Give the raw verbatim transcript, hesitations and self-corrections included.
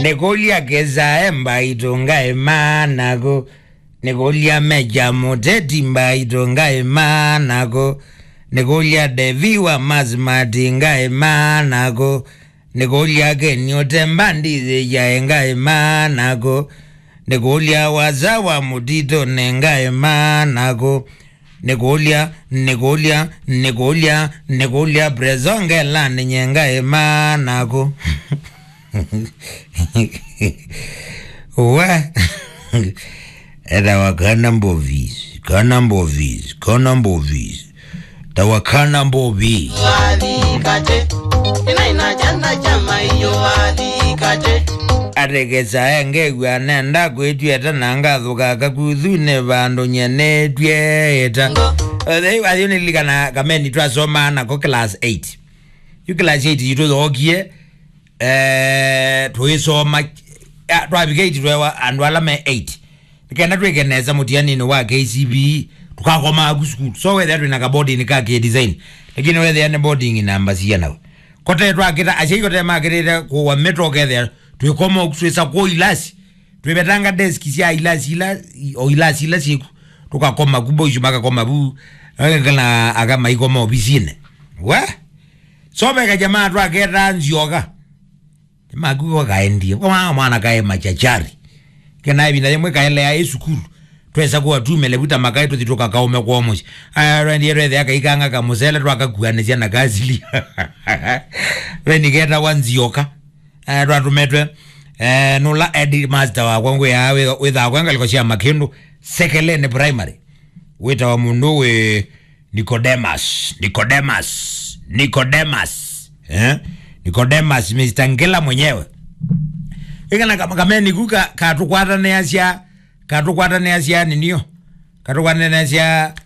Nĩkũlya Kĩsae Mbaitũ ngaĩ manakũ. Nĩkũlya Meja Mũteti Mbaitũ ngaĩ manakũ. Nĩkũlya Devi wa Masmati ngaĩ manakũ. Nĩkũlya Keni Ũtemba Ndithĩyae ngaĩ manakũ. Nĩkũlya Wasa wa Mũtitũnĩ ngaĩ manakũ. Nĩkũlya, nĩkũlya, nĩkũlya, nĩkũlya Preso Ngelanĩ nye ngaĩ manakũ. We. Etawa Kana Mbovis, Kana Mbovis, Kana Mbovis. Tawa Kana Mbovis. Walikate, ina ina chana cha maiyo walikate. Atekesa engew'a nenda kwĩtw'ĩta na ngathũka kakuthunĩ vandũ nye nĩtw'ĩta. Ngo. Atheu, atheu nĩlilikana kameni twasomaa nako class eight. Yu class eight yitũ yookie, eh, tũisoma, ah, twavika eight twewa andũ ala me eight. Nĩkenda twĩke nesa mũtianinĩ wa K C P E, tũkakomaa ku sukulu. So wethĩa twĩna ka boarding ka kĩ design. Lakini wethĩa nĩ boarding namba cia nau. Kote twakĩta, asyai kote makĩtĩte kũwa mĩto ũkethĩa twĩkoma ũku twĩsa kũu ilasi. Twĩvetanga desk sya ilasi ila, o ilasi ila syĩku. Tũkakoma ku, boys makakoma vu. Kana aka maikoma ovisinĩ. We? So ve kajamaa twaketa Nzioka. Nĩmakuwa kaendie. Kwa mwana kaĩ machachari. Kena ĩvinda yĩmwe kaelea ĩ sukulu. Twesa kuwa tumele vuta makaĩ tũthi tũkakaũme kwa mũsyĩ. Aya, twendie twethĩa kaikanga kamũsele twakakuanĩsya na kasili. Ve nĩketawa Nzioka. Eh, twatũmetwe, eh, nũla headmaster wakwa ngwĩaa wĩ-, wĩthaa kwa ngalĩko sya Makĩndũ, Sekeleni Primary. Wĩtawa mũndũ wĩ Nicodemus, Nicodemus, Nicodemus, eh? Nicodemus, Mister Ngila mwenyewe. Ĩkana ka-, kameni ku ka-, katũkwatanĩasya, katũkwatanĩasya nĩnio. Katũkwatanĩasya